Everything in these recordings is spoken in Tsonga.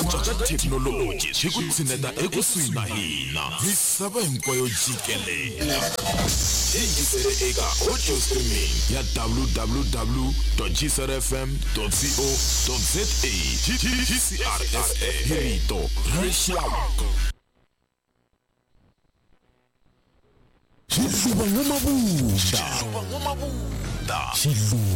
cinca ka thekinoloji swi ku tshineta ekusuhi na hina misava hinkwayo jikelele. Yingisele eka audio streaming ya www gcrfm co za GCRFM hi rito ra rixaka. Xiluva N'wamabunda.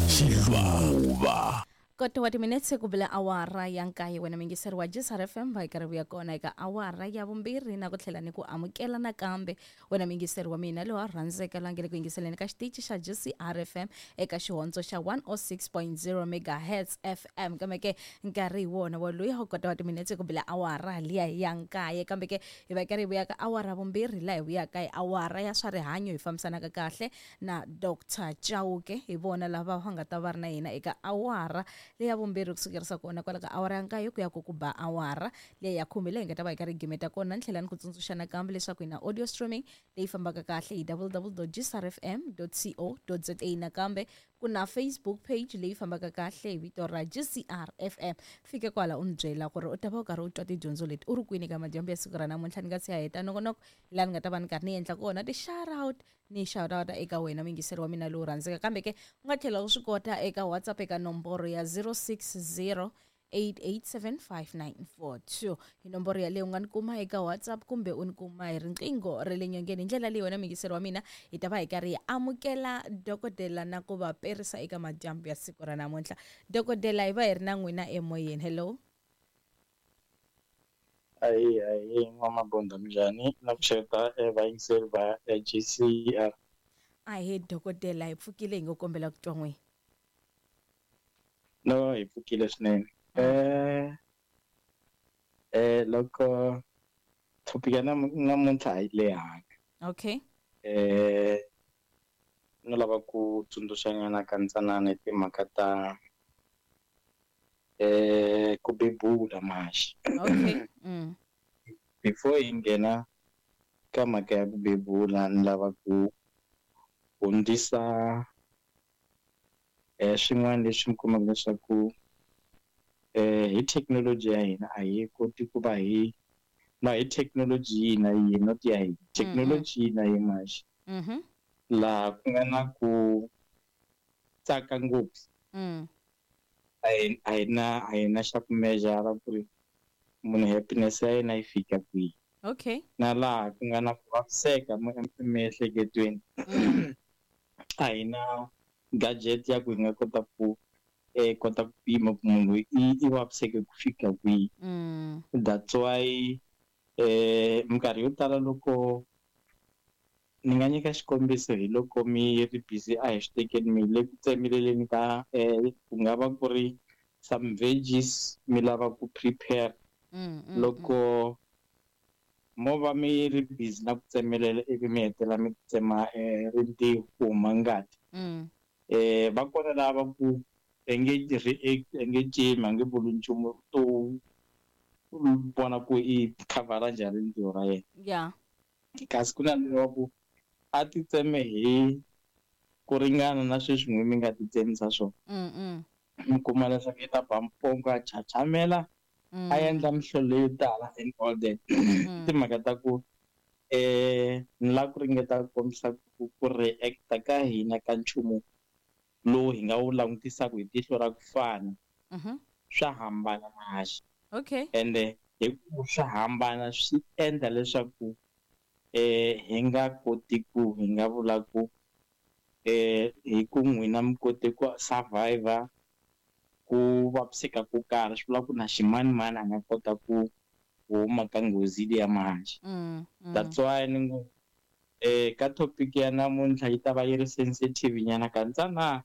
Xiluva. Kota wa timinetse ku bile awara ya nkaye wena muyingiseri wa GCR FM va hi karhi vuya kona eka awara ya vumbirhi na ku tlhela ni ku amukela nakambe wena muyingiseri wa mina loyi a rhandzeka la nge le ku yingiseleni ka xitichi xa GCR FM eka xihondzo xa 106.0 megahertz FM. Kambe ke nkarhi hi wona wa loyi wa kota wa timinetse ku bile awara liya ya nkaye, kambe ke hi va karhi hi vuya ka awara vumbirhi laha hi vuyaka hi awara ya swa rihanyo hi fambisanaka kahle na Dr Chauke. Hi vona lava va nga ta va ri na hina eka awara leya vumbirhi kusukerisa kona kwala ka awara ya nkaye ku ya ku ku ba awara leya ya khume leyi hi nga ta va hi karhi hi gimeta kona. Ni tlhela ni ku tsundzuxa nakambe leswaku hi na audio streaming leyi fambaka kahle hi www.gcrfm.co.za. Nakambe ku na Facebook page leyi fambaka kahle hi vito ra GCR FM. Fike kwala u ni byela ku ri u ta va u karhi u twa tidyondzo leti u ri kwini ka madyambu ya siku ra namuntlha. Ni nga si ya heta nongonoko laha ni nga ta va ni karhi ni endla kona ti-shout out ni shout out eka wena muyingiseri wa mina lowu rhandzeka. Kambe ke u nga tlhela u swi kota eka WhatsApp eka nomboro ya 060 8875942. Hi nomboro yaleyo u nga ni kuma eka WhatsApp kumbe u ni kuma hi riqingho ra le nyongeni. Hi ndlela leyi wena muyingiseri wa mina hi ta va hi karhi hi amukela dokodela na ku va perisa eka madyambu ya siku ra namuntlha. Dokodela, hi va hi ri na n'wina emoyeni. Hello. Ahi ahi N'wamabunda, minjhani? Na pfuxeta vayingiseri va GCR. Ahe dokodela, hi pfukile hi ngo kombela ku twa n'wina. No, hi pfukile swinene. Loko topic ya namuntlha a yi lehanga. Okay. No lava ku tsundzuxanyana ka ntsanana hi timhaka ta ku bebula maxi. Okay. Before hi nghena ka mhaka ya ku bebula, ni lava ku hundzisa swin'wana leswi mi kumaka leswaku hi thekinoloji ya hina a hi koti ku va hi na hi thekinoloji yihi na yihi, not ya hina, thekinoloji yihi na yihi maxi. Laha ku nga na ku tsaka ngopfu. A hi na xa ku measure ku ri munhu happiness ya yena yi fika kwihi. Okay. Na laha ku nga na ku vaviseka emiehleketweni. A hi na gadget ya ku hi nga kota ku kota ku pima ku munhu i vaviseke ku fika kwihi. That's why minkarhi yo tala loko ni nga nyika xikombiso hi loko mi ri busy a hi swi tekeni mi le ku tsemeleleni ka ku nga va ku ri some veggies mi lava ku prepare. Loko mo va mi ri busy na ku tsemelela ivi mi hetelela mi tsema rintiho ku huma ngati. Va kona lava ku nge react, nge cimi, a nge vuli nchumu, to vona ku i khavhara njhani rintiho ra yena. Yeah. Kasi ku na leyi ku a ti tseme hi ku ringana na sweswi n'wi mi nga ti tsemisa swona. Mi kuma leswaku i ta ba mpongo a chachamela, a endla mihlolo leyo tala and all that. Timhaka ta ku ni lava ku ringeta ku kombisa ku react-a ka hina ka nchumu lowu hi nga wu langutisaka hi tihlo ra ku fana. Swa hambana maxi. Okay. Ende hi ku swa hambana swi endla leswaku hi nga koti ku hi nga vula ku hi ku n'wina mi kote ku survivor ku vaviseka ko karhi, swi vula ku na ximanimani a nga kota ku huma ka nghozi liya mahaxi. That's why ni ngo ka topic ya namuntlha yi ta va yi ri sensitive nyana ka ntsana.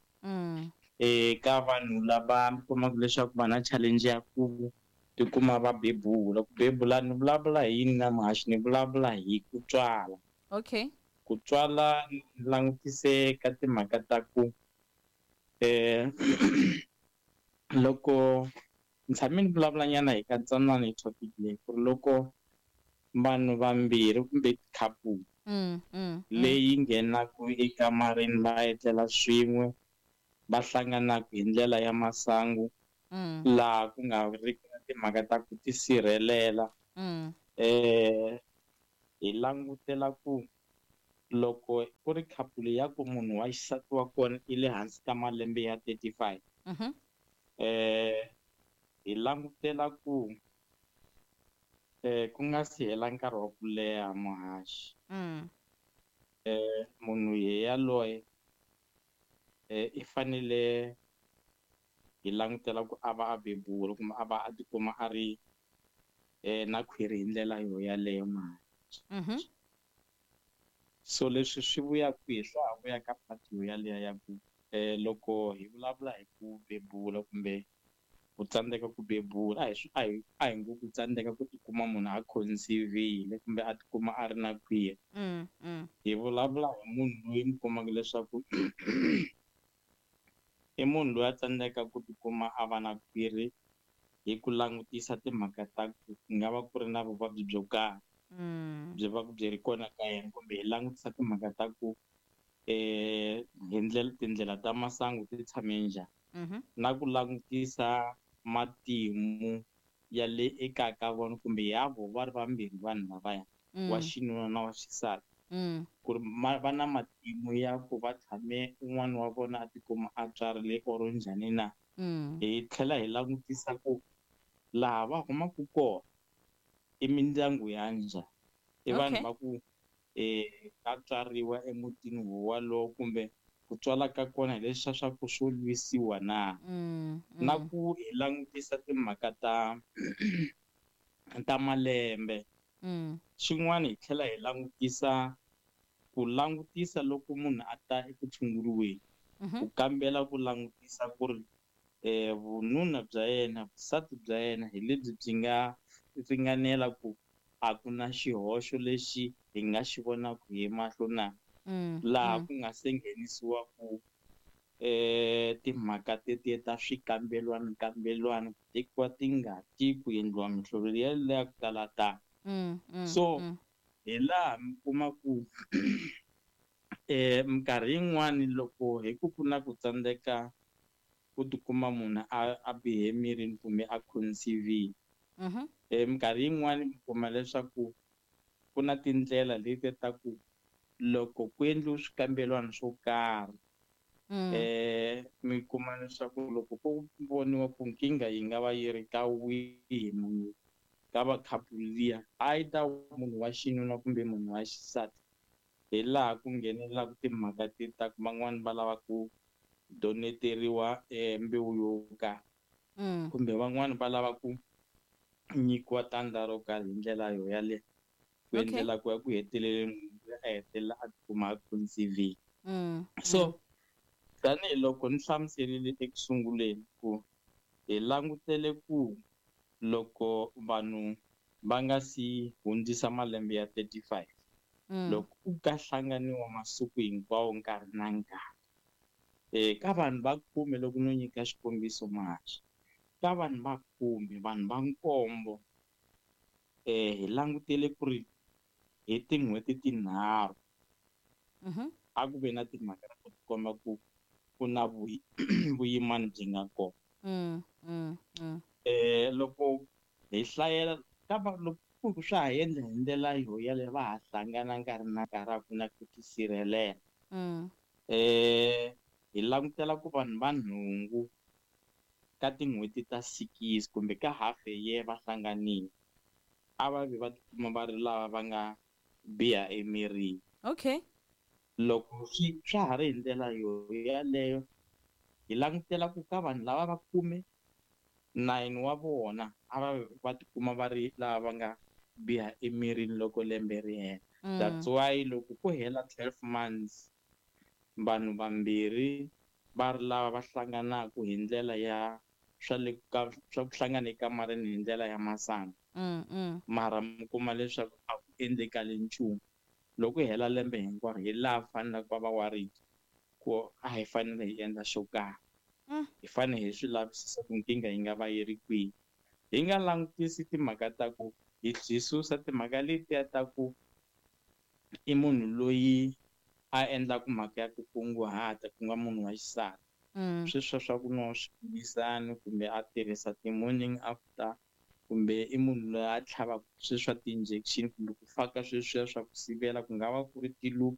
Ka vanhu lava mi kumaka leswaku va na challenge ya ku tikuma va bebula. Ku bebula ni vulavula hi yini na muhaxi? Ni vulavula hi ku tswala. Okay. Ku tswala ni langutise ka timhaka ta ku loko ni tshame ni vulavula nyana hi ka ntsanana hi topic leyi ku ri loko vanhu vambirhi kumbe couple leyi nghenaka ekamareni va etlela swin'we, va hlanganaka hi ndlela ya masangu, Laha ku nga ri ki na timhaka ta ku tisirhelela. Hi langutela ku loko ku ri couple ya ku munhu wa xisati wa kona i le hansi ka malembe ya 35, hi langutela ku ku nga si hela nkarhi wa ku leha muhaxi, munhu yaloye i fanele hi langutela ku a va a bebula kumbe a va a tikuma a ri na khwiri hi ndlela yo yaleyo muhaxi. So leswi swi vuya kwihi? Swa ha vuya ka part yo yaleyo ya ku loko hi vulavula hi ku bebula kumbe ku tsandzeka ku bebula, a hi ngo ku tsandzeka ku tikuma munhu a conceive-ile kumbe a tikuma a ri na khwiri. Hi vulavula hi munhu loyi mi kumaka leswaku i munhu loyi a tsandzekaka ku tikuma a va na khwiri hi ku langutisa timhaka ta ku ku nga va ku ri na vuvabyi byo karhi byi va byi ri kona ka yena, kumbe hi langutisa timhaka ta ku hi ndlela tindlela ta masangu ti tshame njhani, na ku langutisa matimu ya le ekaya ka vona kumbe ya vo va ri vambirhi vanhu lavaya, wa xinuna na wa xisati, ku ri va na matimu ya ku va tshame un'wana wa vona a tikuma a tswarile or njhani na. Hi tlhela hi langutisa ku laha va humaka kona i mindyangu ya njhani, i vanhu va ku va tswariwa emutini wolowo kumbe ku tswala ka kona hi leswiya swa ku swo lwisiwa na. Na ku hi langutisa timhaka ta malembe. Xin'wana hi tlhela hi langutisa ku langutisa loko munhu a ta eku tshunguriweni, ku kambela ku langutisa ku ri vununa bya yena, vusati bya yena hi lebyi byi nga ringanela ku a ku na xihoxo lexi hi nga xi vonaka hi mahlo na. Laha ku nga se nghenisiwa ku timhaka tetiya ta swikambelwana kambelwana, ku tekiwa tingati, ku endliwa mihlovo liya ku tala tala. So hi laha mi kuma ku minkarhi yin'wani loko hi ku ku na ku tsandzeka ku tikuma munhu a bihe emirini kumbe a conceive-ile, minkarhi yin'wani mi kuma leswaku ku na tindlela leti ta ku loko ku endliwe swikambelwana swo karhi, mi kuma leswaku loko ku voniwa ku nkingha yi nga va yi ri ka wihi munhu ka va couple liya, either munhu wa xinuna kumbe munhu wa xisati, hi laha ku nghenelelaka timhaka ti ta ku van'wani va lava ku doneteriwa mbewu yo karhi, kumbe van'wani va lava ku nyikiwa tandza ro karhi hi ndlela yo yaleyo, ku endlela ku ya ku heteleleni munhu a hetelela a tikuma a conceive-ile. So tanihiloko ni hlamuserile eku sunguleni ku hi langutele ku loko vanhu va nga si hundzisa malembe ya 35, loko ku ka hlanganiwa masiku hinkwawo nkarhi na nkarhi, ka vanhu va khume, loko no nyika xikombiso muhaxi, ka vanhu va khume, vanhu va nkombo, hi langutele ku ri hi tin'hweti tinharhu a ku ve na timhaka ta ku tikomba ku ku na vuyimani byi nga kona. Loko hi hlayela ka va loko ku swa ha endla hi ndlela yo yaleyo, va ha hlangana nkarhi na nkarhi, a ku na ku tisirhelela. Hi langutela ku vanhu va nhungu ka tin'hweti ta 6 kumbe ka half a year va hlanganile, a va vi va tikuma va ri lava va nga biha emirini. Loko swa ha ri hi ndlela yo yaleyo, hi langutela ku ka vanhu lava va khume, 9 wa vona a va va tikuma va ri lava va nga biha emirini loko lembe ri hela. That's why loko ku hela 12 months, vanhu vambirhi va ri lava va hlanganaka hi ndlela ya swa le ka swa ku hlangana ekamareni hi ndlela ya masangu, mara mi kuma leswaku a ku endlekali nchumu. Loko hela lembe hinkwaro, hi laha faneleke va va worried ku a hi fanele hi endla xo karhi, hi fanele hi swi lavisisa ku nkingha yi nga va yi ri kwihi. Hi nga langutisi timhaka ta ku hi susa timhaka letiya ta ku i munhu loyi a endlaku mhaka ya ku kunguhata, ku nga munhu wa xisati. Sweswiya swa ku nwa swiphilisani kumbe a tirhisa ti-morning after, kumbe i munhu loyi a tlhavaka sweswi swa ti-injection kumbe ku faka sweswiya swa ku sivela, ku nga va ku ri ti-loop